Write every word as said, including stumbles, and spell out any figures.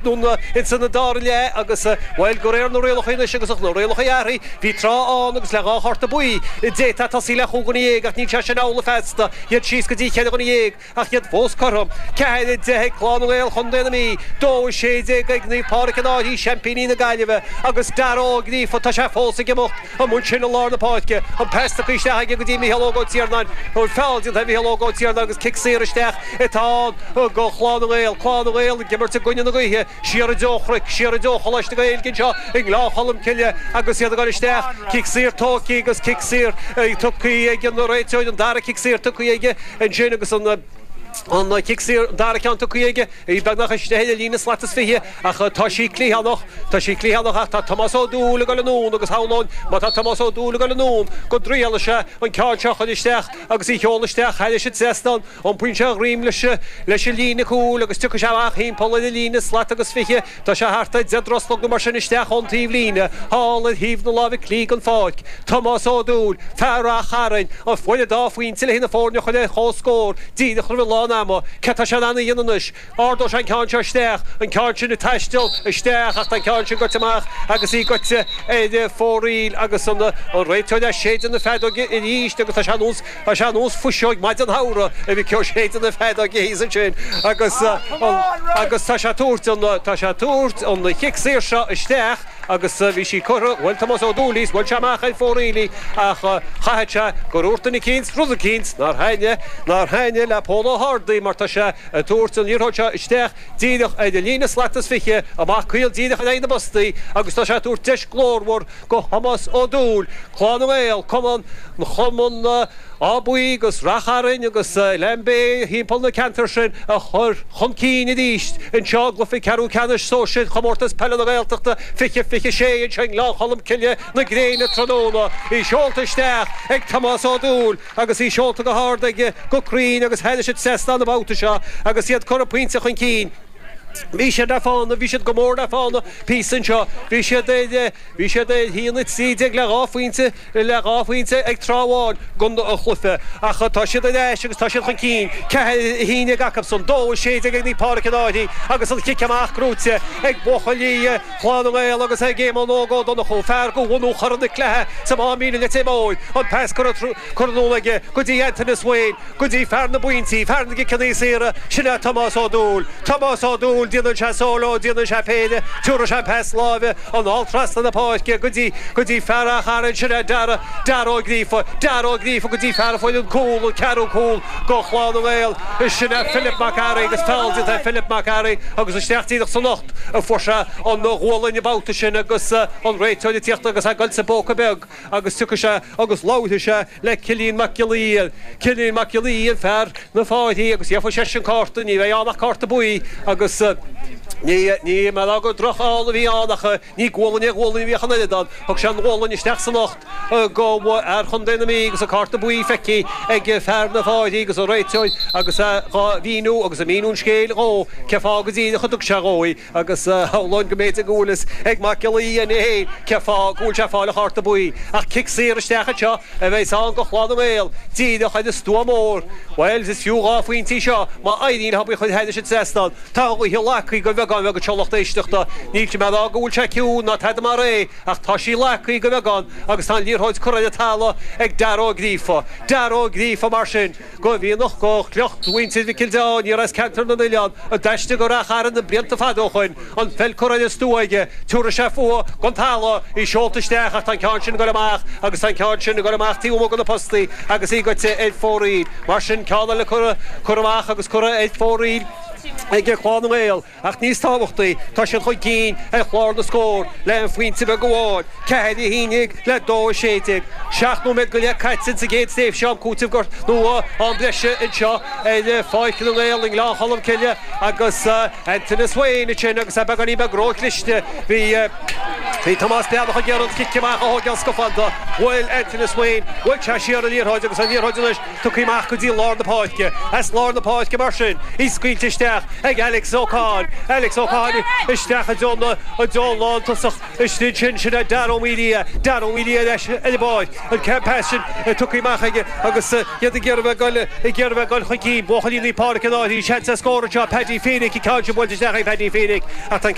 Ins an dara leath agus bhuel de réir na rialacha anois agus na rialacha athraithe bhí tráth ann agus le dhá chárta buí d'fhéadfá tosaí le chúig dhuine dhéag ach níl sé sin amhlaidh feasta iad síos go dtí cheithre dhuine dhéag ach iad fós cothrom ceathair a deich ag Clann na nGael Chontae na Mí dó a sé déag ag Naomh Pádraig an Fhairche seaimpíní na Gaillimhe agus Dara Ó Gríofa tá sé fós ag imeacht amuigh ansin i lár na páirce an pas tugtha isteach aige go dtí Mícheál Óg Ó Tiarnáin feall déanta ar Mhícheál Óg Ó Tiarnáin agus cic saor isteach atá ann go Chlann na nGael Clann na nGael ag imirt i gcoinne na gaoithe siar i dtreo an chnoic siar i dtreo Choláiste na Gaeilge anseo i nGleann Cholm Cille agus iad ag dul isteach cic saor tógtha agus cic saor tugtha ag an réiteoir an dara cic saor tugtha aige ansin agus an an cic saor an dara ceann tugtha aige í beagnach istigh ar líne slat is fiche ach tá sí cliathánach tá sí cliathánach ach tá Tomás Ó Dúill ag dul anonn agus shamhlóinn má tá Tomás Ó Dúill ag dul anonn go dtriailfidh sé an ceann seo a chur isteach agus í sheoladh isteach thairis an trasnán iompaíonn sé a dhroim leis leis an líne cúil agus tiocfaidh sé amach thimpeall ar an líne slat agus fiche tá sé thart ar deich dtroslog nó mar sin isteach ón taobh líne thall ar thaobh na láimhe clí den pháirc Tomás Ó Dúill fear Ráth Chairn a fuair an dá phointe le na foirne a chur ar comhscór díreach roimh lán ama cé tá sé in ann a dhéanamh anois ardóidh sé an ceann seo isteach an ceann sin ag taisteal isteach ach tá an ceann sin goite amach agus í goite ar fóraoil agus an an réiteoir ag séideadh na feadóige arís agus tá sé nós tá sé nós fuiseog maidin shamhraidh a bhí ag séideadh na feadóige thíos ansin agus agus tá sé tabhairt an tá sé tabhairt an chic saor seo isteach agus bhí sí curtha bhuel Tomás Ó Dúill bhuel sé amach ar fóraoil í ach chaithfidh sé gur úirt duine eicínt rud eicínt nár thaitnigh nár thaitnigh le Pól Ó hArdaí mar tá sé ag tabhairt an liathróid seo isteach díreach ar an líne slat is fiche amach caol díreach in aghaidh na bpostaí agus tá sé ag tabhairt deis glórmhar go Thomás Ó Dúill Clann na nGael cumann chumann Áth Buí agus Ráth Chairn agus Lambay thimpeall na ceantar sin a chur chun cinn arís anseo i gcluiche ceathrú ceannais sóisir chomórtas peile na Gaeltachta fiche fiche sé anseo i nGleann Cholm Cille na gréine tráthnóna í seolta isteach ag Tomás Ó Dúill agus í seolta go hard aige go cruinn agus thairis an trasnán an babhta seo agus iad curtha pointe chun cinn. Bhí siad le fána, bhí siad go mór le fána píosa anseo, bhí siad ar bhí siad ar haon a trí déag le dhá phointe le dhá phointe ag tráth amháin den chluiche ach tá siad ar ais agus tá siad chun cinn ceathair a haon déag acusan dó a sé déag ag Naomh Pádraig an Fhairche agus an chic amach gnóite ag buachaillí Chlann na nGael agus ag Éamonn Óg Ó Donnchú fear go bhunú Chorn na Cleithe sa Máimín Leitir Móir an pas curtha curtha anonn aige go dtí Anthony Swain go dtí fear na bpointí fear na gciceanna saora sin é Tomás Ó Dúill Tomás Ó Dúill déanann sé solo déanann sé péire tabharfaidh sé pas láimhe anall trasna na páirce go dtí go dtí fear Ráth Chairn sin é Dara Dara Ó Gríofa Dara Ó Gríofa go dtí fear a fuair an cúl an ceathrú cúl go Chlann na nGael sin é Philip Mac Fhearraigh agus feall déanta ar Philip Mac Fhearraigh agus isteach díreach san ucht a fuair sé an ghualainn an babhta sin agus an réiteoir ag tíocht agus é ag goil sa bpóca beag agus tiocfaidh sé agus labharfaidh sé le Cillian Mac Giolla Íe Cillian Mac Giolla Íe fear na Fáirche agus gheobhaidh sé sin cárta ní bheidh ann ach cárta buí agus ní ní mar go drochfheall a bhí ann ach ní gualainn ar ghualainn a bhíodh an oiread ann thug sé an ghualainn isteach san ucht go fhear Chontae na Mí agus an cárta buí feicthe ag fear na Fáirche agus an réiteoir agus dhá mhíniú agus a míniú an scéil dhó cé fáth go díreach a dtug sé dhó í agus shamhlóinn go mb'fhéidir go bhfuil fhios ag Mac Giolla Íe féin cé fáth go bhfuil sé ag fáil an chárta buí ach cic saor isteach anseo a bheidh ann go Chlann na nGael díreach ar an stua mór Well is fiú dhá phointí seo má éiríonn leo í a chur thairis an trasnán Tá an ghaoth lagtha go bheagán beag anseo lucht éisteachta níl mé ag rá go bhfuil sé ciúin ná tada mar é ach tá sí lagtha go beagán agus tá an liathróid curtha ar an talamh ag Dara Ó Gríofa Dara Ó Gríofa mar sin go mhíonach go shliocht mhuintir Mhic Giolla Dé aniar as ceantar na n-oileán a d'aistrigh go Ráth Chairn na blianta fada ó shoin an pheil curtha ar an stua aige tabharfaidh sé fúithi gon talamh í seolta isteach ach tá an ceann sin ag dul amach agus tá an ceann sin ag dul amach taobh amuigh de na postaí agus í goite ar fóraoil mar sin ceann eile curtha curtha amach agus curtha ar fóraoil ag Clann na nGael ach níos tábhachtaí tá siad chun cinn ar chlár na scór le an phointe beag amháin ceathair a haon déag le dó a sé déag seacht nóiméad go leith caite sa gcéad tréimhse am cúitimh go nó am breise anseo ar Pháirc na nGael i nGleann Cholm Cille agus Anthony Swain ansin agus é beagáinín beag róchliste bhí Bhí Tomás Breathnach ag iarraidh an cic amach a thógáil scafánta bhuail Anthony Swain bhuail sé siar an liathróid agus an liathróid anois tugtha amach go dtí lár na páirce as lár na páirce mar sin í scaoilte isteach isteach ag Alex O'Con Alex O'Con isteach a donna a dó lántasach istigh sin sin a Dar O'Melia Dar O'Melia leis ar báid an ceann sin tugtha amach aige agus iad ag iarraidh goil ag iarraidh goil chuici buachaillí Páirc an Áirí seans scór seo Paddy Phoenix ceann buailte isteach ag Paddy Phoenix ach an